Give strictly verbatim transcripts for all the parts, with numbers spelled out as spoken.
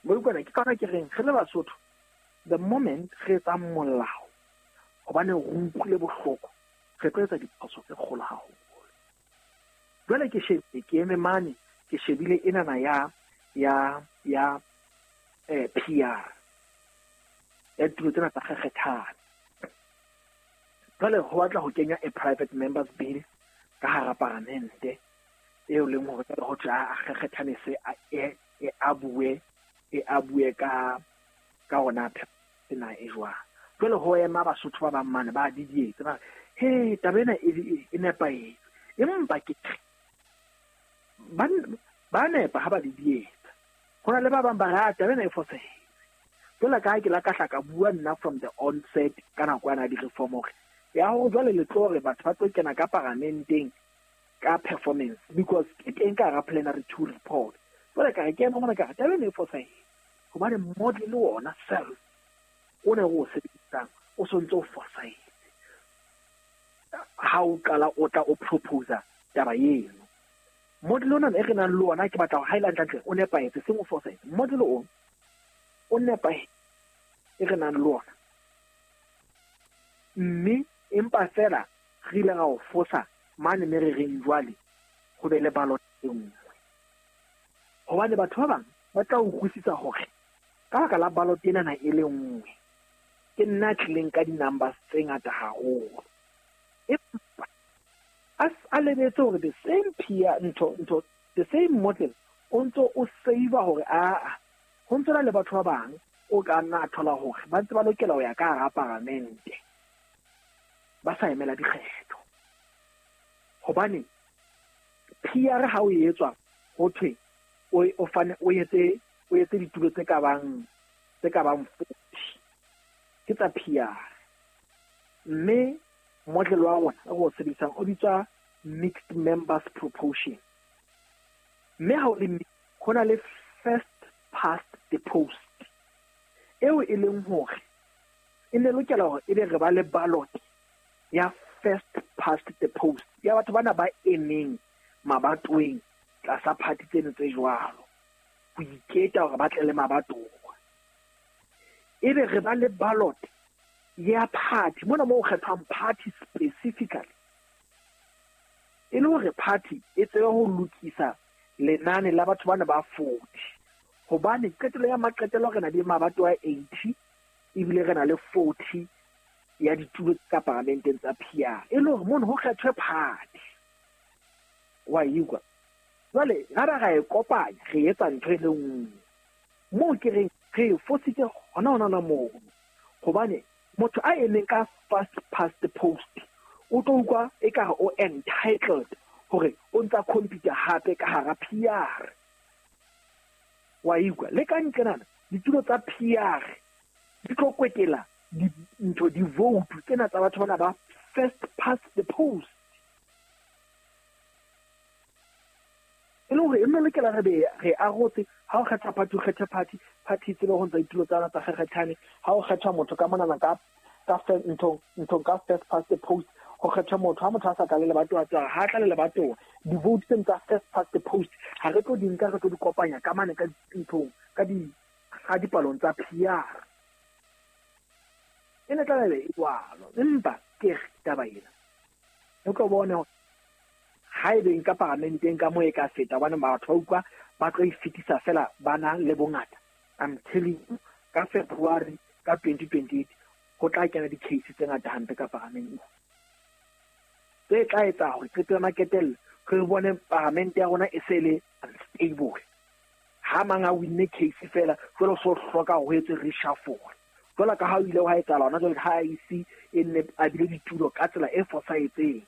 Utlwana ke ka ke reng re le Basotho, the moment re etsa molao hobane re utlwile bohloko, re tlo etsa diphoso tse kgolo haholo. Jwale ke shebile, ke eme mane, ke shebile enana ya ya ya eh P R ya ditulo tsena tsa kgekgethane. Jwale ho batla ho kenya a private members bill ka hara paramente eo leng hore jwale ho thwe a kgekgethane se a e e a bue e a bue ka ka hona ena e jwang. Jwale ho ema Basotho ba bang mane ba didietse ba he taba ena e e nepahetse, empa ke ba ba nepa ha ba didietsa. Ho na le ba bang ba re taba ena e fosahetse. Jwale ka ha ke la ka hla ka bua nna from the onset ka nako yana di-reform hore ya hore jwale le tlo re batho ba tlo kena ka paramenteng ka performance because ke teng ka hara plenary two report. Jwale ka re ke ema mona ka re taba ena e fosahetse hobane model le wona self o ne o sebedisang o sontse o fosahetse ha o qala o tla o proposa taba eno. Model ona e re nang le ona ke batla ho highlight hantle o nepahetse seng o fosahetse. Model o o nepahetse e re nang le ona, mme empa fela re ile ra o fosa mane me re reng jwale ho be le ballot e nngwe, hobane batho ba bang ba tla utlwisisa hore ka baka la ballot ena e le nngwe ke nna tlileng ka di-numbers tse ngata haholo, empa a lebetse hore the same peer ntho ntho the same model o ntso o save hore a ho ntso na le batho ba bang o ka nna thola hore ba ntse ba lokela ho ya ka hara paramente ba sa emela dikgetho. Hobane P R ha o etswa ho thwe o o fane o etse o etse ditulo tse ka bang tse ka bang forty ke tsa P R, mme model wa rona o o sebedisang o bitswa mixed members proportion, mme ha o le ho na le first past the post eo e leng hore e ne lokela hore ebe re ba le ballot ya first past the post ya batho bana ba emeng mabatoweng tlasa party tseno tse jwalo ho iketa hore ba tle le mabatowa. Ebe re ba le ballot ya party mona moo kgethwang party specifically e le hore party e tsebe ho lokisa lenane la batho bana ba forty, hobane qetelo ya maqetelo re na le mabatowa eighty ebile re na le forty ya ditulo tsa paramenteng tsa P R e le hore mono ho kgethwe party wa ikwa. Jwale ra ba ra e kopanya re etsa ntho e le nngwe moo ke reng re fositse hona hona na moo, hobane motho a emeng ka first past the post o tlo utlwa ekare o entitled hore o ntsa computer hape ka hara P R wa ikwa. Le ka ntle nana ditulo tsa P R di tlo kwetela ntho di-vote tsena tsa batho bana ba first past the post e le hore e nne lokela re be re arotse ha o kgetha party o kgethe party party tsebe ho ntsa ditulo tsa tsa kgekgethane, ha o kgetha motho ka monana ka ka ntho ntho ka first past the post ho kgetha motho ha motho a sa tla le lebatowa tsa ha tla le lebatowa di-vote tsena tsa first past the post ha re tlo di nka re tlo di kopanya ka mane ka nthong ka di ga dipalong tsa P R e ne tla be e jwalo. Empa ke taba ena o tlo bone hore ha ebe nka paramenteng ka moo e ka feta hobane batho ba utlwa ba tlo e fetisa fela ba na le bongata. I'm telling you ka February ka twenty twenty-eight ho tla kena di-case tse ngata hampe ka paramenteng tse tla etsa hore qeto ya maketello re bone paramente ya rona e se le unstable. Ha mang a winne case fela jwale o so hloka ho etse reshuffle jwale ka ha o ile wa etsahala hona jwale ha I C e nne a bile ditulo ka tsela e fosahetseng.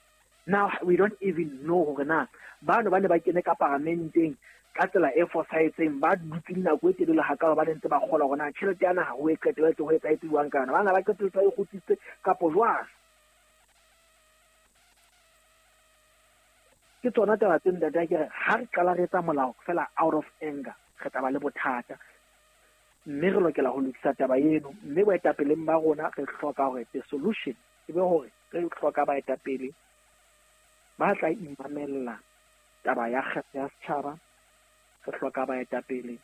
Now we don't even know hore na bano ba ne ba kene ka paramenteng ka tsela e fosahetseng ba dutse nako e telele hakalo ba ntse ba kgola hore na tjhelete ya naha ho e qetelletse ho etsahetse jwang ka yona, bana ba qetelletse ba e kgutsitse kapo jwang. Ke tsona taba tse ntate ke re ha re qala re etsa molao fela out of anger re tla ba le bothata, mme re lokela ho lokisa taba eno. Mme boetapeleng ba rona re hloka hore the solution e be hore re hloka baetapele ba tla imamella taba ya kgetho ya setjhaba, re hloka baetapele